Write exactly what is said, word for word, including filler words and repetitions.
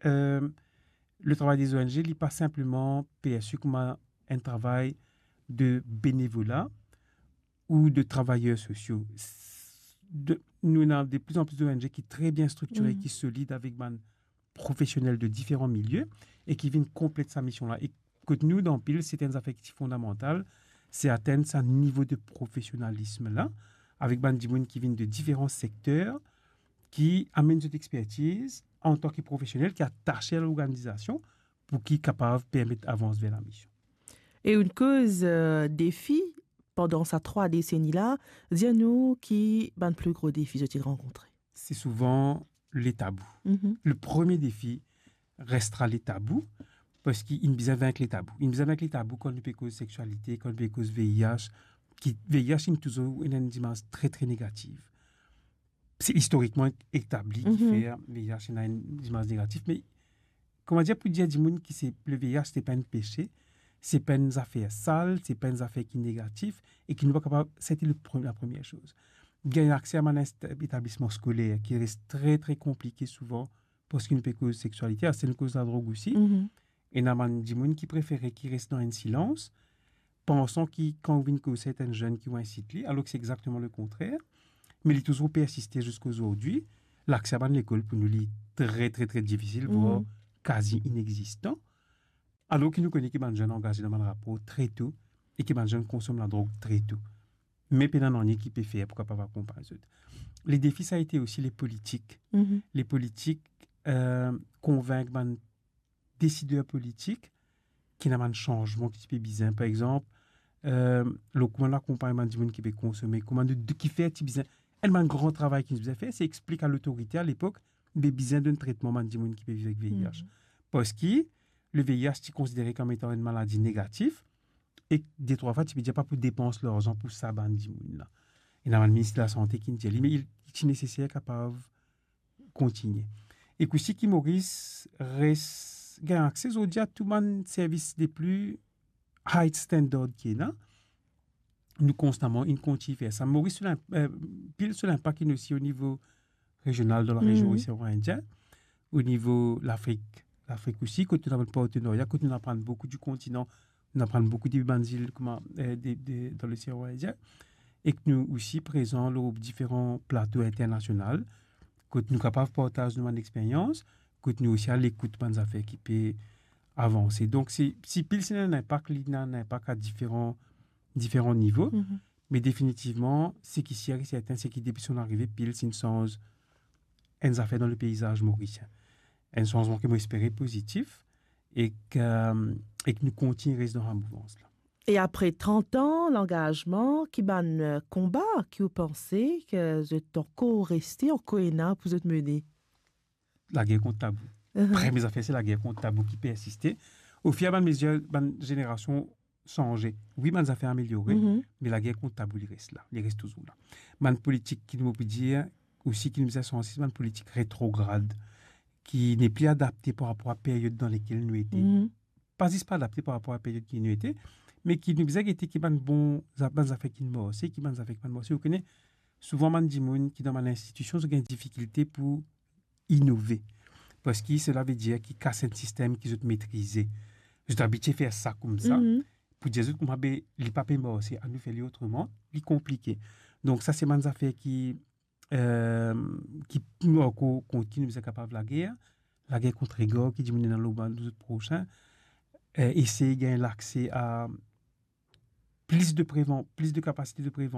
euh, le travail des O N G, li pa sinpleman persi kouma enn travay de benevola ou de travayer sosio. S-, de, nou ena de plus en plus de O N G ki tre bien striktire, ki solid, avek bann profesionel de diferan milie e ki vinn konplet sa mision la. E kot nou, dan PIL, se enn zafer ki ti fondamantal, se atenn sa nivo de profesionalism la, avek bann dimoun ki vinn de diferan sekter, ki amenn zot expertiz antan ki profesionel, ki atase a lorganizasion, pou ki kapav permet avans ver lamision. E enn koz, euh, defi pandan sa trwa deseni la, dir nou ki bann pli gro defi zot inn rankontre? Se souvan le tabou. Mhm. Le premie defi restra le tabou, parski inn bizin vink le tabou. Inn bizin vink le tabou kan nou pe koz seksualite, kan nou pe koz V I H, ki V I H inn touzour ena enn imaz tre, tre negativ. Se istorikman etabli ki fer V I H ena enn imaz negatif, me kouma dir, pou dir dimoun ki se, le V I H se pa enn pese, se pa enn zafer sal, se pa enn zafer ki negatif, e ki nou pa kapav, sete le pre-, la premie soz. Gagn akse a bann enst-, etablisman skoler, ki res tre, tre konplike souvan, parski nou pe koz seksualite, aster nou koz ladrog osi. Mhm. Ena bann dimoun ki prefere ki res dan enn silans, pansan ki kan ou vinn koz sa, enn zenn ki ou insit li, alor ki se exakteman le kontrer, me li touzour persiste ziska zordi. Lakse a bann lekol pou nou, li tre, tre, tre difisil, vwar kazi inexistan. Alor ki nou kone ki bann zenn angaze dan bann rapor tre to e ki bann zenn konsom ladrog tre to. Me pena nanye ki pe fer pou kapav akonpagn zot. Le defi, sa ete osi le politik. Mhm. Le politik, euh, konvink bann desider politik ki ena bann sanzman ki ti pe bizin. Par exanp, euh, lor kouma nou akonpagn bann dimoun ki pe konsome, kouma nou, de, kifer ti bizin, enn bann gran travay ki nou bizin fer, se explik a lotorite alepok, be bizin donn tretman bann dimoun ki pe viv avek V I H. Mhm. Parski le V I H ti konsidere kom etan enn maladi negatif, e detrwa fwa ti pe dir pa pou depans larzan pou sa bann dimoun la. Ena bann minis lasante ki ti dir li, me li ti neseser kapav kontigne. E osi ki Moris res gagn akse zordi a tou bann servis de pli high standard ki ena, nou konstaman inn kontign fer sa. Moris, so linp-, euh, PIL, so linpak inn osi o nivo rezional dan larezion, mhm, osean Indien, o nivo Lafrik, Lafrik osi, kot nou ena bann partenarya, kot nou aprann boukou di kontinan, nou aprann boukou de bann zil, kouma, euh, de, de, dan losean Indien, e ki nou osi prezan lor diferan plato internasional, kot nou kapav partaz nou bann experyans, kot nou osi a lekout bann zafer ki pe avanse. Donk, si, si PIL ena enn inpak, li ena enn inpak a diferan, diferan nivo. Mhm. Me definitivman, seki sir e serten, se ki depi son arive, PIL inn sanz enn zafer dan le peizaz morisien. Enn sanzman ki mo espere pozitif e ki, e ki nou kontign res dan sa mouvans la. E apre trant an langazman, ki bann, euh, konba ki ou panse ki zot ankor reste, ankor ena pou zot mene? Lager kont tabou. Mhm. Premie zafer, se lager kont tabou ki persiste. Ofir bann mezir, bann zenerasion sanze. Wi, bann zafer ameliore, mhm, me lager kont tabou, li res la, li res touzour la. Bann politik ki nou, mo pou dir osi ki nou bizin sanze, se bann politik retrograd, ki nepli adapte par rapor a period dan lekel nou ete. Mhm. Pa zis pa adapte par rapor a period ki nou ete, me ki nou bizin gete ki bann bon, za-, bann zafer ki marse, ki bann zafer ki pa marse. Ou kone, souvan bann dimoun ki dan bann institision, zot gagn difikilte pou inove. Parski sela ve dir ki kas enn sistem ki zot metrize. Zot abitie fer sa koumsa. Mhm. Pou dir zot kouma, be, li pa pe marse, anou fer li otreman, li konplike. Donk sa se bann zafer ki, euh, ki nou ankor kontign bizin kapav lager, lager kont regar ki dimoun ena lor bann zot prosin, euh, esey gagn lakse a plis de prevan-, plis de kapasite de prevansyon,